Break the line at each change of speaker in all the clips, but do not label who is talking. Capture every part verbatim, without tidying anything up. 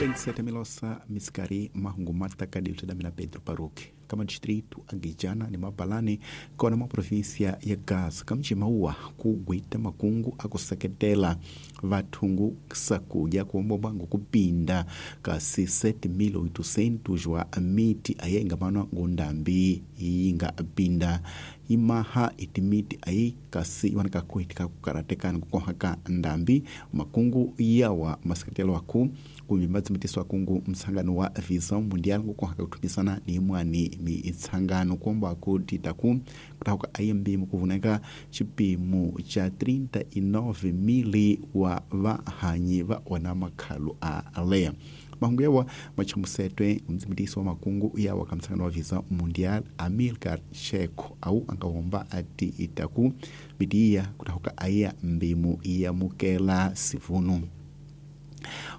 vinte e sete milosa misikari mahungu mataka dilitadamina Pedro Paruque kama distrito Aguijana ni Mabalane kona ma província ya Gaza kamjimaua kugwita makungu akuseketela vathungu sakuja kuombombangu kupinda kasi sete mil oitocentos wa miti aye ingamanwa ngundambi yinga pinda imaha itimiti ayi kasi iwanaka kuitika kukaratekana kukohaka ndambi makungu yawa maseketelo aku kumbi madzimitisi akungu mtsangano wa Visão Mundial ngukohaka kuthumisana ni imwani mitsangano kuomba kutitaku kutauka ayembi mukuvuneka chipimo cha trinta e nove mil wa vahanyi va ona makhalu a leya mahungu yawa machamusetwe mdzimitisi wa makungu yawa kamtsangano wa Visão Mundial Amilcar Checo au angawomba ati itaku midiya kutauka aya mbimu yamukela sivunu.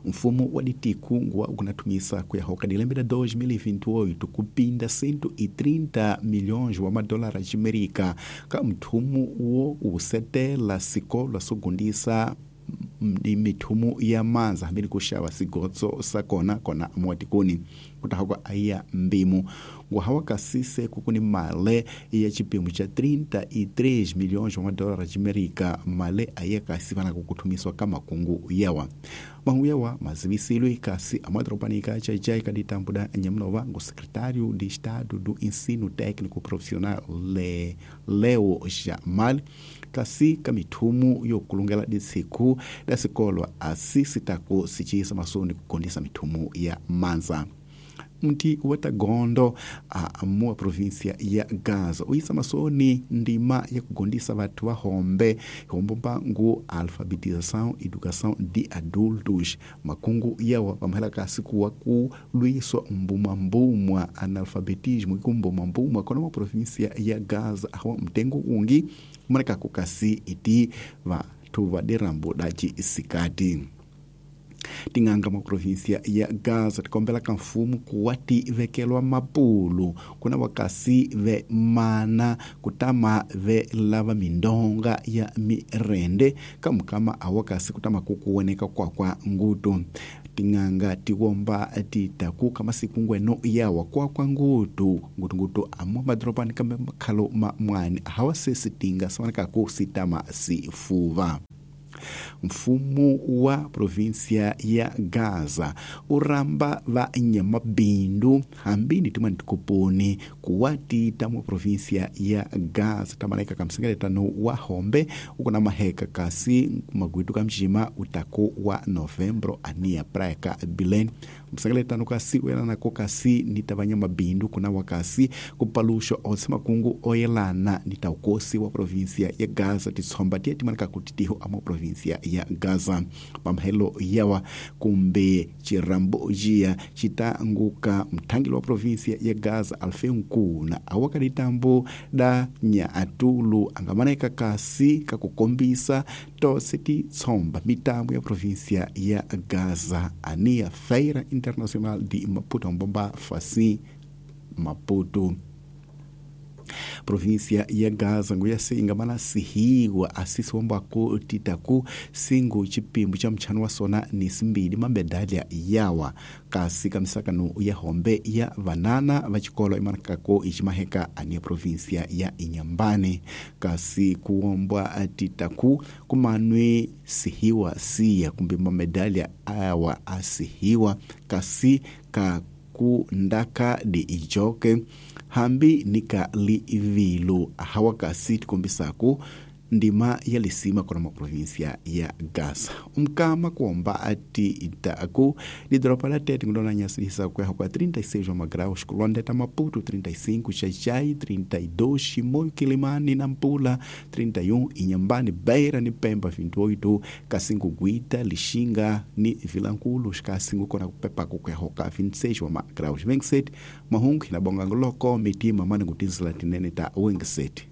Mfumo wa ditiku ngwa ukunatumisa kuyahoka dilembe da dois mil e vinte e oito kupinda cento e trinta milhões wa madólares de Amerika ka mthumu wo usetela sikolo sogundisa mithumu ya manza hambili kuxava sigotso sakona kona muatikuni kutahakwa aya mbimu nguhawa kasise kukuni male ya chipimo cha trinta e três milhões wa madólares de Amerika male aya kasi vana kukuthumiswa ka makungu yawa mahungu yawa mazivisilwe kasi amadropanika chaichai kaditambuda nyamnova ngu secretário de Estado do Ensino Técnico Profissional Le, Leo Jamal kasi kamithumu yokulungela disiku da sikolo asisitako sichisa masoni kukondisa mithumu ya manza. Mti watagondo a mua província ya Gaza uisa masoni ndima ya kugondisa vatu vahombe hombomba ngu alfabetização educação de adultos makungu yawa pamahela kasi kuwa kulwiswa mbumambumwa analfabetismo ikumbumambumwa kona província ya Gaza awa mtengo ungi umaneka kukasi iti vatu vadirambo daci isikati. Tinganga mwa província ya Gaza tikombela ka mfumo kuwa ti vekelwa mapulu kuna wakasi ve mana kutama ve lava mindonga ya mirende kamukama awakasi kutama kukuoneka kwa kwa ngutu. Tinganga tiwomba titaku kama sikungweno yawa kwa kwa ngutu ngutu ngutu amwa madropani kama makhalo ma mwani hawasesi tinga sawanaka kusitama sifuva. Mfumo wa província ya Gaza uramba va nyamabindu hambini timwani tikuponi kuwatita mu província ya Gaza tamaleka kamsengeletano wa hombe ukuna maheka kasi magwitu kamjima utako wa novembro ania praia ka Belém msengeletano kasi uyelanako kasi nitavanya mabindu kuna wakasi kupalusho onse makungu oyelana nitaukosi wa província ya Gaza titsomba tiye timaneka kutitiho ama província ya Gaza pamhelo yawa kumbe chirambo jia chitanguka mthangilo wa província ya Gaza Alfeu Nkuna awakaditambo da nya atulu angamaneka kasi kakukombisa tose titsomba mitambo ya província ya Gaza ania Feira Internacional de Maputo mbomba fasi Maputo. Província ya Gaza nguyase ingamana sihiwa asisi wambako titaku singu chipimbu cha mchano wa sona ni simbili mabedalia yawa kasi kamisakano ya hombe ya vanana vachikolo imanakako ichimaheka ania província ya Inhambane kasi kuombwa titaku kumanwe sihiwa siya kumbe mamedalia awa asihiwa kasi ka kundaka de ijoke hambi nika livilu hawakasi tikombisako ndima ya lisima kona maprovinsia ya Gaza. Umkama kuomba ati itaku lidropa la tete ngudona nyasilisa kwa kwa trinta e seis graus kulondeta Maputo trinta e cinco, Xaixai trinta e dois, Chimoio Quilimani Nampula trinta e um, Inhambane Beira ni Pemba vinte e oito, Kassingo Guita Lixinga ni Vilanculos Kassingo kona kupepa kukwehoka vinte e seis graus vinte e sete, Mahungu na Bongangoloko mitima mani kutizila tinene ta vinte e sete.